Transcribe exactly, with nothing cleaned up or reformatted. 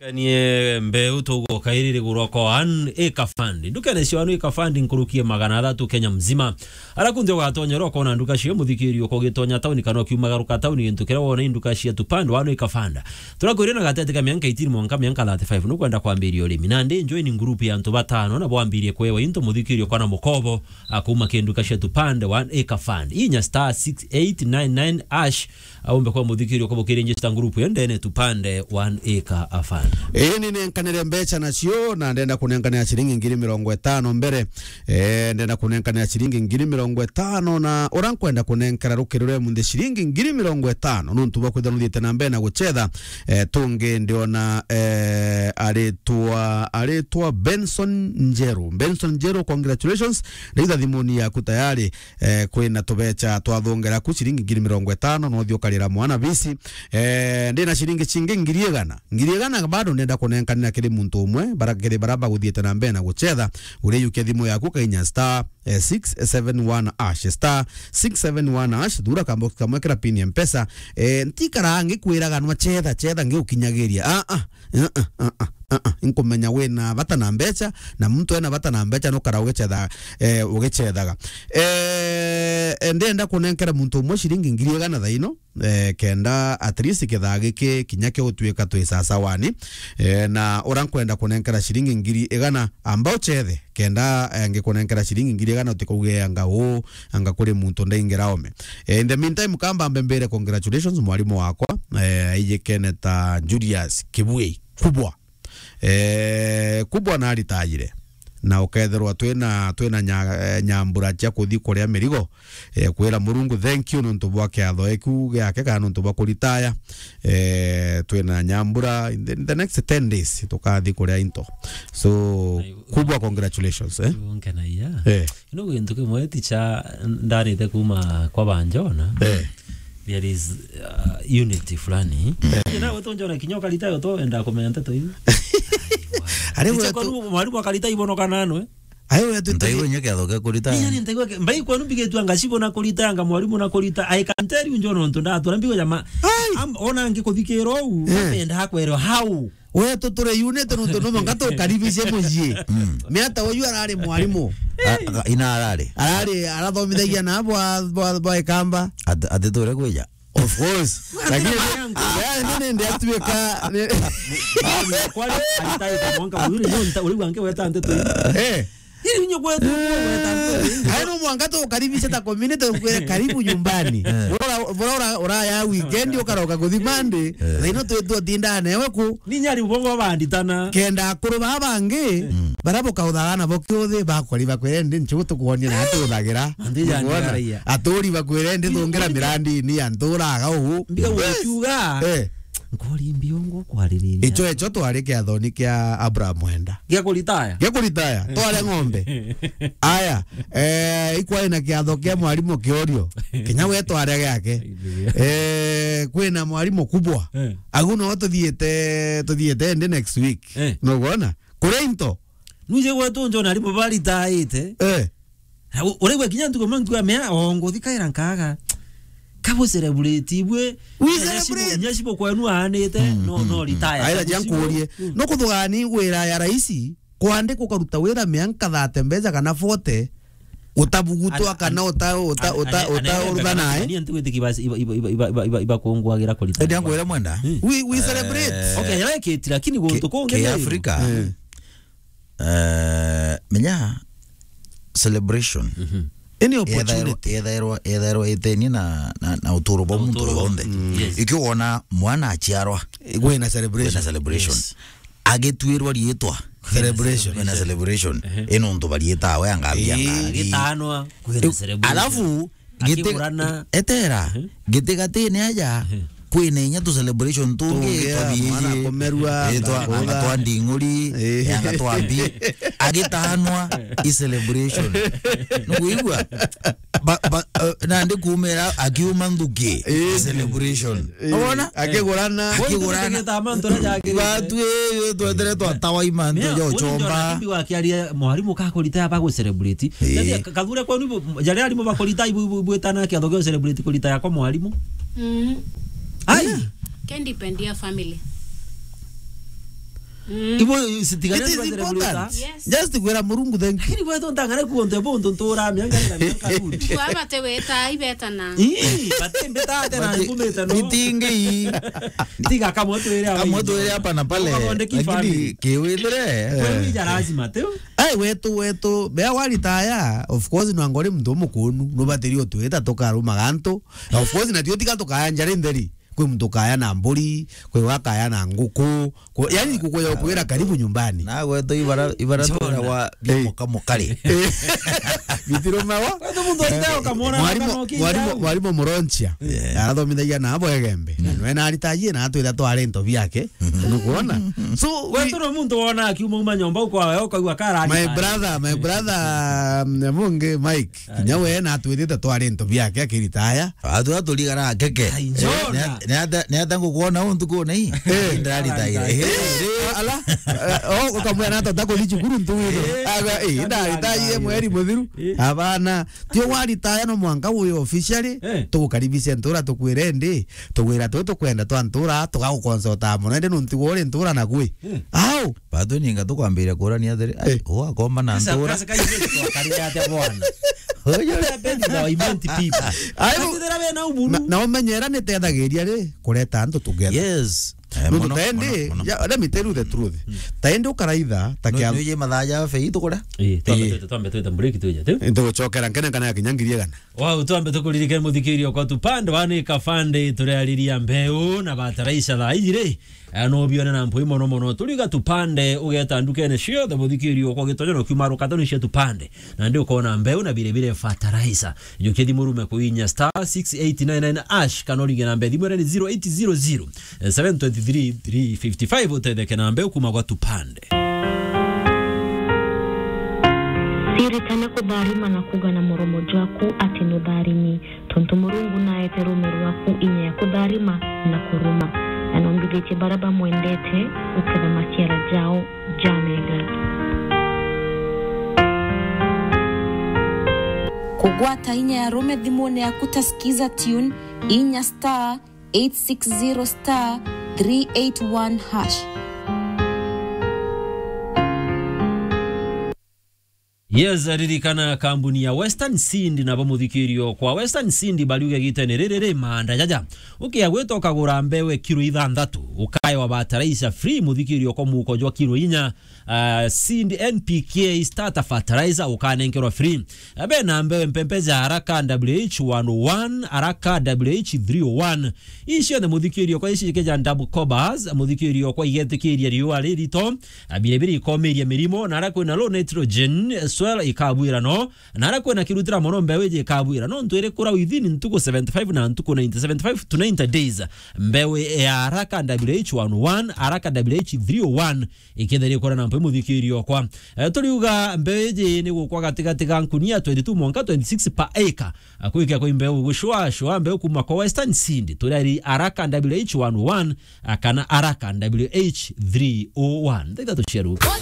Kanie mbeu tuguka iri rigurwa kwa One Acre Fund. Ndukene cia One Acre Fund nkuruki ya magana athatu Kenya mzima. Ara kunthe ugatonya ro kona nduka cio muthikiri uko gitonya tauni kana ukiumagaruka tauni gintu kiria wona induka cia Tupande One Acre Fund. Turakwirina gatete ka mianka eighteen mwanka mianka thirty-five nukwenda kwambiria urimi. Na ndi join group ya antu batano na bwambirie kwewa into muthikiri uko na mukobo akuma kinduka cia Tupande One Acre Fund. Inya star six eight nine nine hash. Aumbe kwa muthikiri uko bukiri njista group yo ndene Tupande One Acre Afan. Ii ni nenkanire mbeca nacio na ndenda kunenkanira ciringi ngiri mirongo itano mbere. Eh, ndenda kunenkanira ciringi ngiri mirongo itano na ura nkwenda kunenkera rukiri rwe munthe ciringi ngiri mirongo itano nuntu bwa kwithira nuthiite na mbere na gucetha. Eh, tungi ndiona, eh, aritwa, aritwa Benson Njeru. Benson Njeru, congratulations. Ndaitha thimuni yaku tayari. Eh, kwina tubecha twathongera ku ciringi ngiri mirongo itano, no uthii ukarira mwana bisi. Eh, ndina ciringi cingi ngiri igana. Ngiri igana bado ndenda kunenkanira kiri muntu umwe, bara kiri bara baguthiite na mbere na gucetha. Uriyukia thimu yaku kainya star, eh, six seven one hash, star six seven one hash, thura kambox kamwe kira pin ya Mpesa. Eh, ntikara ngikwiraga nwa cetha, cetha ngiukinyagiria. Ah, ah. Ah, ah, ah, ah, ah, ah. Nkumenya wina bata na mbecha, na muntu ena bata na mbecha nukara ugicetha, eh, ugicethaga. Eh, eh, ndenda kunenkera muntu umwe ciringi ngiri igana thaino, eh, kenda at least kithaa giki kinya kiutuika twi sasawani. Eh, na ura nkwenda kunenkera ciringi ngiri igana, amba uchethe, kenda, eh, ngikunenkera ciringi ngiri igana utikauge anga uu, anga kuri muntu ndaingira ome. Eh, in the meantime, kamba mbembere congratulations mwarimu wakwa, eh, aijikene ta Julius Kibwei. Kubwa. Eh, Kubwa naritayire. Na ukethirwa twina, twina nya-, eh, nyambura cia kuthi kuria mirigo, eh, kwira Murungu thank you nontu bwa kiatho eku giake kana nontu bwa kuritaya. Eh, twina nyambura in the, in the next ten days tukathi kuria into. So, Kubwa, congratulations, eh. Nkenaia. Eh. Ino gintu kimwe ticha ndarite kuma kwa banjona. Eh. There is, uh, unity fulani. Eh. Ina wetu njona kinya ukarita yo to enda kumenya nteto iu. Are wetu mwalimu akarita ibono kana nwe. Ayo wetu. Ntaigwe nya kiatho kia kurita. Inya ni ntaigwe ke-, mbai kwenu mbigitwe anga cibo na kurita, anga mwalimu na kurita. I can tell you njona ntu ndatura mbigo jama. Ai. Am-, ona ngi kuthikira u, eh, enda kwero how. Wetu turi unite nontu no mwanka tukaribicie mucii. Mm. Miata uyu arari mwarimu. A-, a-, ina arari. Arari, arathomithagia na bwa, bwa, bwa Ikamba. At-, ati ture kwija. Of course. Lakini, yangu. Ya, ni nende atuika, ni- Kwani alitaita mwanka uyu ni nta, uri wange weta nteto. Eh. Iri nyo kwetu, weta nteto. Ayo no mwanka tukaribisha ta community, tukwire karibu nyumbani. Eh. Bora, bora, ura, uraya weekend, ukaroka kuthi Monday. Eh. Thaino twi tutinda newe ku. Ni nyari bongo banditana. Kenda akuru baa bangi, mm, bara bukauthaga nabo kiuthi, bakori bakwire ndi nchu tukuonia na atuthagira. Ndi yani. Nukwona? Raia. Aturi bakwire ndi thungira mirandi ni anturaga uu. Mbiga. Yes. Gukiuga. Eh. Nkori mbiongo kwaririria. Icho, icho twari kiathoni kia Abraham Mwenda. Gia kuritaya? Gia kuritaya. Tware ng'ombe. Aya, eh, ikwari na kiatho kia mwarimu Kiorio. Kinya we tware giake. Eh, kwina mwarimu Kubwa. Eh. Agu no tuthiite, tuthiite ndi next week. Eh. No gwona? Kuria into. Nuje gwetu njona arimu baritaite. Eh. Na u-, uraigua kinya ntuku imwe nkuamea, o nguthi kaira nkaga. Kabu celebrate ibwe. We celebrate. Nya cibo kwenu aanite, mm, no, mm, no, mm, retire. Aira kabu cibo. Jankurie. Mm. No kuthugani wira ya raisi, kwandika ukaruta wira mianka thirty mbeca kana forty, utabugutwa kana uta, uta, uta, uta, uruthanae. Ni antu gwitiki basi iba, iba, iba kungwagira kuritaya. Ndio ngwira Mwenda. Mm. We, we celebrate. Eh. Okay, yara ikiti, lakini guntu kungi ki Africa. Mm. Eh, menya celebration. Mhm. Any opportunity. Yethairwa, yethairwa, yethairwa iteni na, na, na uturo bwa muntu yonthe. Mm. Yes. Ikio wona mwana aciarwa, gwina celebration. Gwina celebration. Yes. Agitwirwa riitwa. Celebration. Gwina celebration. Ehe. Ino ntu bariitawe angambia ngari. Agitanwa, gwina celebration. Alafu, Giti-, akigurana. Etera, mhm, giti gatine aja, mhm, kwina inya tu celebration tungi. Tungi, twathii mwana iji. Kumerua, eh, twa-, anga twa nding'uri, eh, anga twa mbi. Agitanwa i celebration. Nukwigua? Ba-, ba-, eh, nandi kumira akiuma nthuki, eh, celebration. Eh, wona? Akigurana. Akigurana. Watu, eh, twetere twatawa imantu ja uchomba. Mbigo akiaria mwarimu kakurita ya bagu celebrate. Eh. Nani ka-, kathure kwenu ibu, jare arimu bakurita ibu, ibu, ibu etana kiatho gio celebrate kurita yako mwarimu. Mm. Ai. Yeah. Can depend ya family. Mm. Ibo sitigane. It is important. Yes. Just kwira Murungu thank you. Lakini wewe ntangare kuonde bundu ntura mianga na mianga rudi. Kwa bate weta ibetana. Ii, bate mbeta ate na ngumeta no. Mitingi. Tiga kamwe twire hapa. Kamwe twire hapa na pale. Lakini kiwithire. Kwa wija lazima tu. Ai, wetu, wetu, bea waritaya, of course, nwangori muntu umukunu, nubatiri utwita tukarumaga antu. Of course, na tio tiga tukaya njari ntheri. Kwi muntu ukaya na mburi, kwi wakaya na nguku, kwi, yani nguku ya ukwira karibu nyumbani. Na gwetu ibara, ibara Jona. Twira wa bia muka mukari. Bitirumawa. Kwetu muntu aritaya ukamwona mwarimu, mwarimu, mwarimu Muronchia. Yeah. Arathomithagia na abo Egembe. Na nwe na aritajie na atwira twari into biake. Nukwona? So, we, we turi muntu wona akiuma uma nyomba ukwa we ukaigua kara. My brother, my brother, um, Mungi Mike, kinya we na atwirite twari into biake akiritaya. Atu aturigara keke. Ai, Jona. Ne, ne ata, ne ata ngukwona untuku nei? Eh. Ndaritaire. Eh. Ala, eh, oh, ukamwira na tata kuthi cukuru ntuwiro. Eh. Aga, eh, ndaritaire mweri muthiru. Eh. Abana, tio waritaya no mwanka uyo officially, eh, tugukaribishe ntura tukwire ndi. Tugwira twi tukwenda twa ntura, tugagukonsota mono, indi nuntu gwe uri ntura na gwi. Mm. Au? Bado ninga tukwambiria kurania athiri, ai, eh, ugakomba na ntura. Ai, na, na umenyera ni tethagiria ri, kureta antu together. Yes. Eh, nuntu mono, tendi, mono, mono. Ya, let me tell you the truth. Mm. Tendi ukaraitha, ta kia nuje mathaa ja fei tukura? Eh, twambe, eh, twite, twambe twite break tuje, tu? Ntugucokera nkene kana ya kinya ngiri igana. Wau, twambe tukuririkane muthikiria kwa tupande, wani kabande, turiariria mbeu na bataraitha thaa iji ri. Eh, no bione na mpui mono mono. Turiga tupande, ugeta ndukene ciothe muthikiria kwa gitonyo no kiuma rukatoni cia tupande. Na ndi ukona mbeu na bire bire bataraitha. Njukia thimu rume kuinya star six eight nine nine hash, kana uringe namba ya thimu iria ni zero eight zero zero, eh, seven twenty three, three fifty five, utetheke na mbeu kuma kwa tupande. Ciritane kutharima na kuuga na muromo jwaku ati nutharimi, tontu Murungu naete ruume rwaku inya ya kutharima na kuruma, na nombithitie baria bamwendete guketha maciara jao jamega. Kugwata inya ya ruume thimune yaku ta Skiza Tune, inya star eight six zero star three eight one hash. Yes, ririkana kambuni ya Western Seed na bamuthikirio kwa Western Seed bariuge gitene riri ri manda jaja. Ukia gwita ukagura mbewe kiro ithanthatu, ukaewa bataraitha free muthikirio kwa muko jwa kiro inya, ah, Seed N P K starter fertilizer ukanenkerwa free. Abe na mbewe mpempe ja Araka W H one oh one, Araka W H three oh one. Ici cionthe muthikirio kwa ici ikeja double cobas, muthikirio kwa igetikiria riua ririto, abire biri ikomiria mirimo, na ara kwina low nitrogen soil ikabwira no, na ara kwina kirutira mono mbewe iji ikabwira no, ntu iri kura within ntuku seventy five na ntuku ninety, seventy five to ninety days. Mbewe ya Araka W H one oh one, Araka W H three oh one, ikethira ikura na mpe muthikirio kwa. Eh, turiuga mbeu iji ni gukwa gatigati ga nkunia twenty two mwanka twenty six per acre. Akwikia kwa mbeu gushwa shwa mbeu kuma kwa Western Seed, turiari Araka W H one oh one, akana Araka W H three oh one. Thitha tuciaruka.